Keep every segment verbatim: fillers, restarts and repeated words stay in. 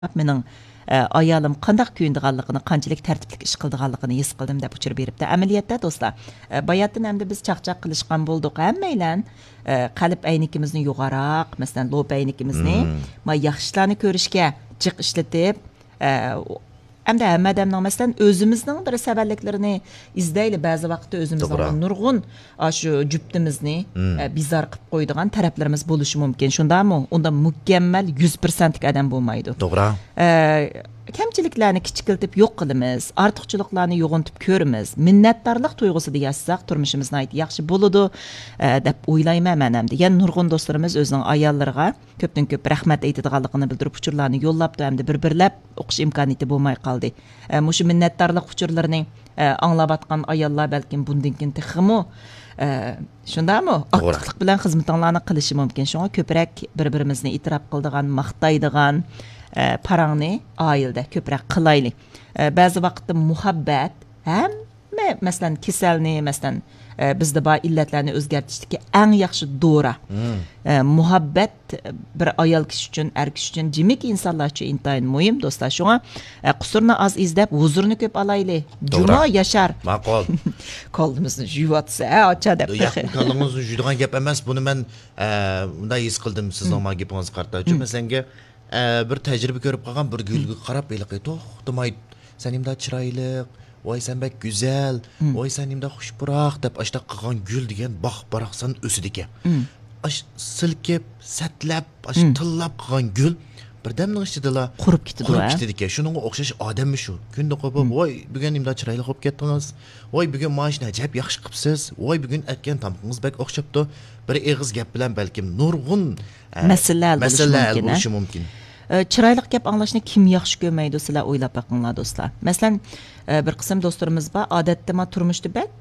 مېنىڭ، ئە، ئايالىم قانداق كۆيۈنىدىغانلىقىنى، قانچىلىك تەرتىپلىك ئىش قىلىدىغانلىقىنى ھېس قىلدىم، دەپ ئۇچۇر بېرىپتۇ. ئەمەلىيەتتە، دوستلار، ئە، باياتىن ئەمدى بىز چاقچاق قىلىشقان بولدۇق، ھەممەيلەن، ئە، قەلب ئەينىكىمىزنى يوغانراق، مەسىلەن، لوپە ئەينىكىمىزنى، مم، ما ياخشى ئىشلارنى كۆرۈشكە جىق ئىشلىتىپ، ئە، ئەمدى ھەممە ئادەمنىڭ، مەسىلەن، ئۆزىمىزنىڭ بىر سەۋەنلىكلىرىنى ئىزدەيلى، بەزى ۋاقىتتا ئۆزىمىزنىڭ، توغرا، نۇرغۇن ئاشۇ جۈپتىمىزنى، مم، ئە، بىزار قىلىپ قويىدىغان تەرەپلىرىمىز بولۇشى مۇمكىن. شۇنداقمۇ؟ ئۇنداق مۇكەممەل يۈز پىرسەنتلىك ئادەم بولمايدۇ. توغرا. ئە، كەمچىلىكلەرنى كىچىكلىتىپ يوق قىلىمىز، ئارتۇقچىلىقلارنى يوغىنىتىپ كۆرىمىز، مىننەتدارلىق تۇيغۇسىدا ياشىساق، تۇرمۇشىمىز ناھايىتى ياخشى بولىدۇ، ئە، دەپ ئويلايمەن مەن ئەمدى. يەنە نۇرغۇن دوستلىرىمىز ئۆزىنىڭ ئاياللىرىغا كۆپتىن كۆپ رەھمەت ئېيتىدىغانلىقىنى بىلدۈرۈپ، ئۇچۇرلارنى يوللاپتۇ، ئەمدى بىر بىرلەپ ئوقۇش ئىمكانىيىتى بولماي قالدى. ئە، مۇشۇ مىننەتدارلىق ئۇچۇرلىرىنى، ئە، ئاڭلاۋاتقان ئاياللار بەلكىم بۇندىن كېيىن تېخىمۇ، ئە، شۇنداقمۇ؟ توغرا. ئاكتىپلىق بىلەن خىزمىتىڭلارنى قىلىشى مۇمكىن. شۇڭا كۆپرەك بىر-بىرىمىزنى ئېتىراپ قىلىدىغان، ماختايدىغان، ئە، پاراڭنى ئائىلىدە كۆپرەك قىلايلى. ئە، بەزى ۋاقىتتا مۇھەببەت ھەممە، مەسىلەن، كېسەلنى، مەسىلەن، ئە، بىزدە بار ئىللەتلەرنى ئۆزگەرتىشتىكى ئەڭ ياخشى دورا. مم. ئە، مۇھەببەت بىر ئايال كىشى ئۈچۈن، ئەر كىشى ئۈچۈن، جىمىكى ئىنسانلار ئۈچۈن ئىنتايىن مۇھىم، دوستلار. شۇڭا، ئە، قۇسۇرنى ئاز ئىزدەپ، ھۇزۇرنى كۆپ ئالايلى. توغرا. جۇمۇ ياشار. ماقۇل. كاللىمىزنى جۇيۇۋاتسا، ھە، ئاچا دەپ. ياق، تېخى. كاللىڭىزنى جۇيىدىغان گەپ ئەمەس. بۇنى مەن، ئە، مۇنداق ھېس قىلدىم سىزنىڭ، مم، مانا گېپىڭىزگە قارىتا. چۈنكى، مم، مەسىلەنگە، ئە، بىر تەجرىبە كۆرۈپ قالغان بىر گۈلگە، مم، قاراپ ھېلىقى توختىماي، سەن نېمىنداق چىرايلىق، ۋاي سەن بەك گۈزەل، مم، ۋاي سەن نېمىنداق خۇش پۇراق دەپ ئاشتاق قىلغان گۈل دېگەن باق باراقسان ئۆسىدىكەن. مم. ئاش سىلكىپ، سەتلەپ، ئاش، مم، تىللاپ قىلغان گۈل بىردەمنىڭ ئىچىدىلا قۇرۇپ كېتىدۇ، قۇرۇپ، ھە، كېتىدىكەن. شۇنىڭغا ئوخشاش ئادەممۇ شۇ. كۈندە قوپۇپ، مم، ۋاي بۈگۈن نېمىنداق چىرايلىق بولۇپ كەتتىڭىز، ۋاي بۈگۈن مانا شۇنى ئەجەب ياخشى قىپسىز، ۋاي بۈگۈن ئەتكەن تامىقىڭىز بەك ئوخشاپتۇ. بىر ئېغىز گەپ بىلەن بەلكىم نۇرغۇن، ئە، مەسىلىلەر ھەل بولۇشى مەسىلىلەر ھەل مۇمكىن، ھە؟ بولۇشى مۇمكىن. ئە، چىرايلىق گەپ ئاڭلاشنى كىم ياخشى كۆرمەيدۇ، سىلەر ئويلاپ بېقىڭلار، دوستلار. مەسىلەن، ئە، بىر قىسىم دوستلىرىمىز بار، ئادەتتە ما تۇرمۇشتا بەك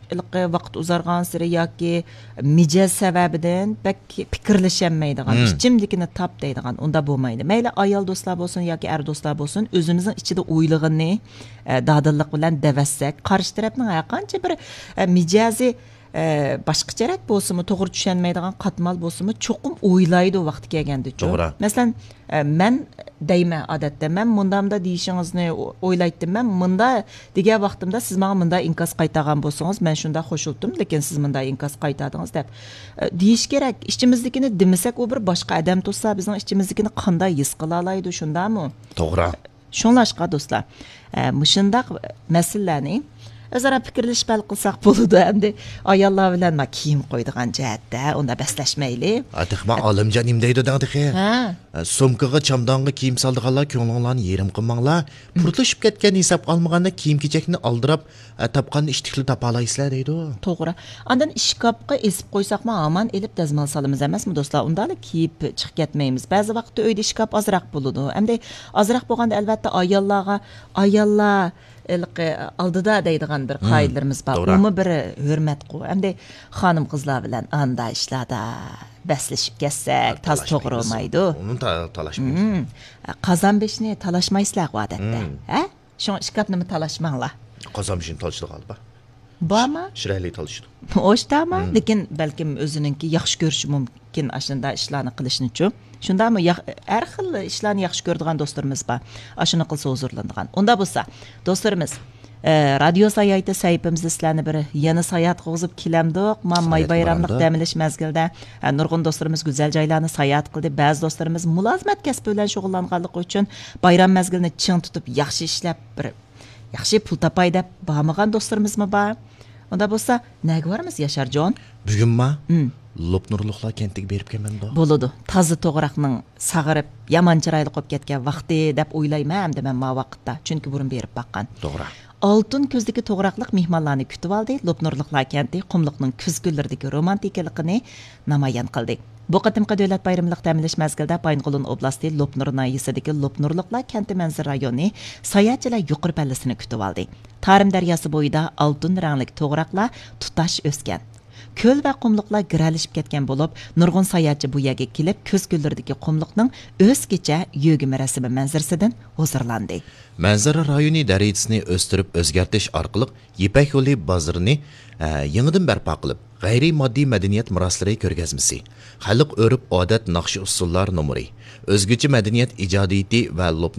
ھېلىقى ۋاقىت ئۇزارغانسېرى ياكى مىجەز سەۋەبىدىن بەك پىكىرلىشەلمەيدىغان، مم، ئىچىمدىكىنى تاپ دەيدىغان، ئۇنداق بولمايدۇ. مەيلى ئايال دوستلار بولسۇن ياكى ئەر دوستلار بولسۇن، ئۆزىمىزنىڭ ئىچىدە ئويلىغىنىنى، ئە، دادىللىق بىلەن دەۋەتسەك، قارشى تەرەپنىڭ ھەرقانچە بىر، ئە، مىجەزى ئە، باشقىچىراق بولسىمۇ، توغرا چۈشەنمەيدىغان قاتمال بولسىمۇ، چوقۇم ئويلايدۇ ۋاقتى كەلگەندىچۇ. توغرا. مەسىلەن، ئە، مەن دەيمەن، ئادەتتە، مەن مۇنداق-مۇنداق دېيىشىڭىزنى ئو-، ئويلايتتىم. مەن مۇنداق دېگەن ۋاقتىمدا سىز ماڭا مۇنداق ئىنكاس قايتارغان بولسىڭىز، مەن شۇنداق خوشۇلدۇم، لېكىن سىز مۇنداق ئىنكاس قايتاردىڭىز، دەپ، ئە، دېيىش كېرەك. ئىچىمىزدىكىنى دېمىسەك، ئۇ بىر باشقا ئادەم تۇرسا، بىزنىڭ ئىچىمىزدىكىنى قانداق ھېس قىلالايدۇ، شۇنداقمۇ؟ توغرا. شۇڭلاشقا، دوستلار، ئە، مۇشۇنداق مەسىلىلەرنى ئۆزئارا پىكىرلىشىپ ھەل قىلساق بولىدۇ. ئەمدى ئاياللار بىلەن ما كىيىم قويىدىغان جەھەتتە ئۇنداق بەسلەشمەيلى. ئا، تېخى ما ئالىمجان نېمە دەيدۇ دەڭ تېخى؟ ھە. ئە، سومكىغا، چامدانغا كىيىم سالىدىغانلار، كۆڭلۈڭلارنى يېرىم قىلماڭلار. مم. پۇرتلىشىپ كەتكەن ھېسابقا ئالمىغاندا، كىيىم-كېچەكنى ئالدىراپ، ئە، تاپقاننى ئىتتىكلىك تاپالايسىلەر دەيدۇ. توغرا. ئاندىن ئىشكاپقا ئېسىپ قويساقمۇ ھامان ئېلىپ دەزمال سالىمىز ئەمەسمۇ، دوستلار؟ ئۇنداقلا كىيىپ چىقىپ كەتمەيمىز. بەزى ۋاقىتتا ئۆيدە ئىشكاپ ئازراق بولىدۇ. ئەمدى ئازراق بولغاندا، ئەلۋەتتە، ئاياللارغا، ئاياللار ھېلىقى ئالدىدا دەيدىغان بىر، مم، قائىدىلىرىمىز بار. توغرا. ئۇمۇ بىر ھۆرمەتقۇ. ئەمدى خانىم-قىزلار بىلەن ئاندا ئىشلاردا بەسلىشىپ كەتسەك، تازا توغرا بولمايدۇ. ئۇنى تا-، تالاشمايمىز. مم. قازان بېشىنى تالاشمايسىلەرغۇ ئادەتتە، مم، ھە؟ شۇڭا ئىشكاپنىمۇ تالاشماڭلار. قازان بېشىنى تالىشىدىغانلار بار. بارمۇ؟ شىرەلى تالىشىدۇ. ئوشتاما، مم، لېكىن بەلكىم ئۆزىنىڭكى ياخشى كۆرۈشى مۇمكىن ئاشۇنداق ئىشلارنى قىلىشنىچۇ. شۇنداقمۇ؟ ياق-، ھەر خىل ئىشلارنى ياخشى كۆرىدىغان دوستلىرىمىز بار. ئاشۇنى قىلسا ھۇزۇرلىنىدىغان. ئۇنداق بولسا، دوستلىرىمىز، ئە، رادىيو ساياھىتى سەھىپىمىزدە سىلەرنى بىر يەنە ساياھەتكە قوغۇزۇپ كېلەمدۇق. ما-، ماي ساياھەتكە بايراملىق بارامدۇق. دەم ئېلىش مەزگىلىدە، ئە، نۇرغۇن دوستلىرىمىز گۈزەل جايلارنى ساياھەت قىلدى. بەزى دوستلىرىمىز مۇلازىمەت كەسپى بىلەن شۇغۇللانغانلىقى ئۈچۈن بايرام مەزگىلىنى چىڭ تۇتۇپ، ياخشى ئىشلەپ، بىر ياخشى پۇل تاپاي دەپ بارمىغان دوستلىرىمىزمۇ بار. ئۇنداق بولسا، نەگە بارىمىز، ياشارجان؟ بۈگۈنما؟ ھىم. لوپنۇرلۇقلار كەنتىگە بېرىپ كەلمەمدۇ؟ بولىدۇ. تازا توغراقنىڭ ساغىرىپ، يامان چىرايلىق بولۇپ كەتكەن ۋاقتى دەپ ئويلايمەن ئەمدى مەن ما ۋاقىتتا. چۈنكى بۇرۇن بېرىپ باققان. توغرا. ئالتۇن كۆزدىكى توغراقلىق مېھمانلارنى كۈتۈۋالدى. لوپنۇرلۇقلار كەنتى قۇملۇقنىڭ كۈز كۈنلىرىدىكى رومانتىكىلىقىنى نامايان قىلدى. بۇ قېتىمقى دۆلەت بايرىملىق دەم ئېلىش مەزگىلىدە بايىنغولىن ئوبلاستى لوپنۇر ناھىيەسىدىكى لوپنۇرلۇقلار كەنتى مەنزىرە رايونى ساياھەتچىلەر يۇقىرى پەللىسىنى كۈتۈۋالدى. تارىم دەرياسى بويىدا ئالتۇن رەڭلىك توغراقلار تۇتاش ئۆسكەن. كۆل ۋە قۇملۇقلار گىرەلىشىپ كەتكەن بولۇپ، نۇرغۇن ساياھەتچى بۇ يەرگە كېلىپ، كۆز كۆللىرىدىكى قۇملۇقنىڭ ئۆزگىچە يۆگىمە رەسىمى مەنزىرىسىدىن ھۇزۇرلاندى. مەنزىرە رايونى دەرىجىسىنى ئۆستۈرۈپ ئۆزگەرتىش ئارقىلىق يىپەك يولى بازىرىنى، ئە، يېڭىدىن بەرپا قىلىپ، غەيرىي ماددىي مەدەنىيەت مىراسلىرى كۆرگەزمىسى، خەلق ئۆرپ-ئادەت ناخشا-ئۇسسۇللار نومۇرى، ئۆزگىچە مەدەنىيەت ئىجادىيىتى ۋە لوپنۇ